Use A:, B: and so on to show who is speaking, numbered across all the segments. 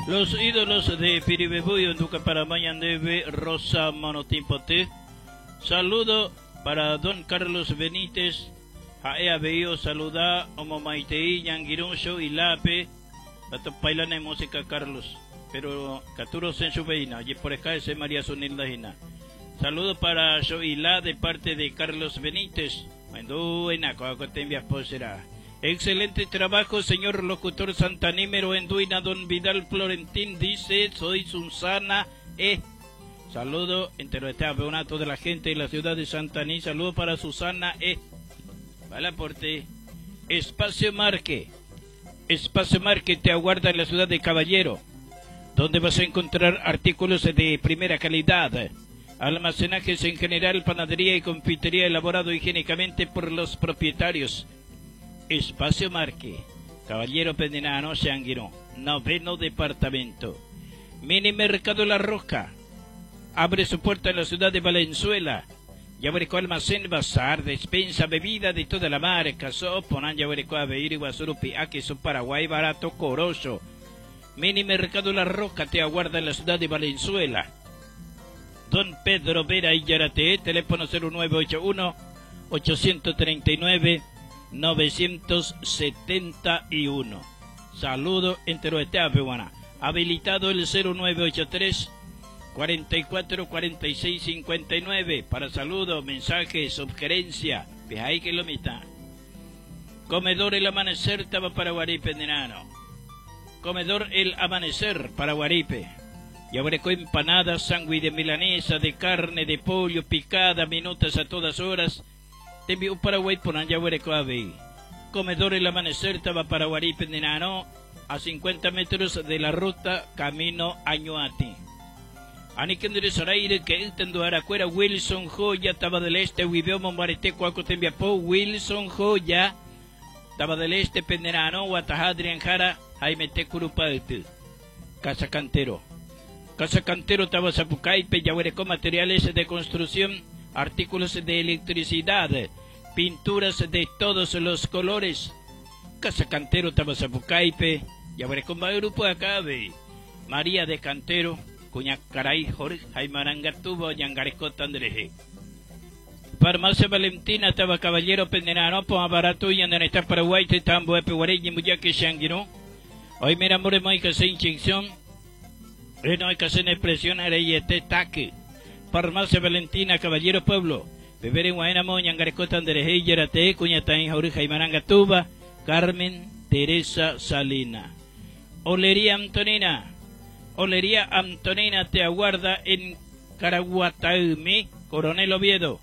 A: Los ídolos de Piribebuy, Onduca para Mañandeve, Rosa Monotimpote. Saludo para don Carlos Benítez, ha'e avei osaluda omomaitei ñangirũ Shoilápe, Atopailane música Carlos, pero katu rosẽ chupe hína, ojeporeka hese María Zunilda hína. Saludo para Shoila de parte de Carlos Benítez. Ohendúina ko'ã ko tembiapo será. Excelente trabajo señor locutor Santanímero ohendúina don Vidal Florentín dice soy Susana E. Saludo enteroete a toda la gente de la ciudad de Santaní. Saludo para Susana E. Vale aporte. Espacio Marque. Espacio Marque te aguarda en la ciudad de Caballero, donde vas a encontrar artículos de primera calidad, almacenajes en general, panadería y confitería elaborado higiénicamente por los propietarios. Espacio Marque, Caballero Pendenano, Seanguiró, noveno departamento. Mini Mercado La Roca abre su puerta en la ciudad de Valenzuela. Yaguareco almacén, bazar, despensa, bebida de toda la marca, soponan, yaguareco aveir, guasurupi, queso Paraguay, barato, corozo. Mini Mercado La Roca te aguarda en la ciudad de Valenzuela. Don Pedro Vera y Yarate, teléfono 0981 839 971. Saludo entero este Habilitado el 0983 44 46 59 para saludos, mensajes, sugerencia. ahí que lo mitad. Comedor El Amanecer, Taba Paraguaripe, Nenano. Comedor El Amanecer, Paraguaripe. Yaguareco empanadas, sándwich de milanesa, de carne, de pollo, picada, minutas a todas horas. Te envío Paraguay por Yaguareco Ave. Comedor El Amanecer, Taba Paraguaripe, Nenano, a 50 metros de la ruta Camino Añuati. Anikendere Saraire que Eltendo Aracuera Wilson Joya Taba del Este Huibeo Mombarete Cuaco Tembiapó Wilson Joya Taba del Este Penderano Guatajá Adrián Jara Jaime Tecurupaltu Casa Cantero Casa Cantero Taba Zapucaipe Yahuerecó materiales de construcción artículos de electricidad pinturas de todos los colores Casa Cantero Taba Zapucaipe Yahuerecó grupo acabe María de Cantero Cuñacaray, Jorge Jaimarangatubo, Yangareco, Tandreje. Farmacia Valentina, Taba Caballero, Pendenano, Barato, y está Paraguay, Tambo, Epe, Guareñi, Muyaque, Shanguiró. Hoy mira, more, hay que hacer inyección. No hay que hacer expresión, areyete, taque. Farmacia Valentina, Caballero Pueblo. Beber en Guaynamo, Yangareco, Tandreje, Yarate, Cuñatán, Jorge Jaimarangatuba, Carmen Teresa Salina. Olería Antonina. Olería Antonina te aguarda en Caraguataume, Coronel Oviedo.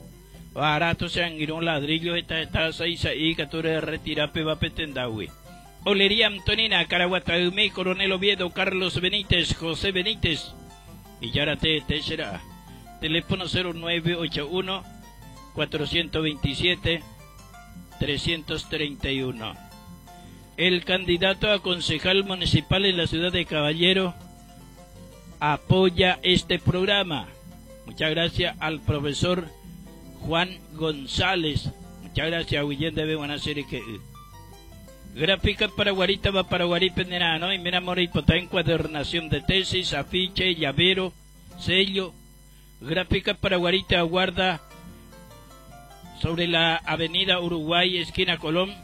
A: Barato se han un ladrillo, esta está seis ahí, que tú retira peba petendawi. Olería Antonina, Caraguataume, Coronel Oviedo, Carlos Benítez, José Benítez. Y Yarate te será. Teléfono 0981 427 331. El candidato a concejal municipal en la ciudad de Caballero apoya este programa. Muchas gracias al profesor Juan González. Muchas gracias, William de buena serie que Gráfica Paraguarita va Paraguaripe ¿no? Y mira Moripota encuadernación de tesis, afiche, llavero, sello. Gráfica Paraguarita aguarda sobre la avenida Uruguay, esquina Colón.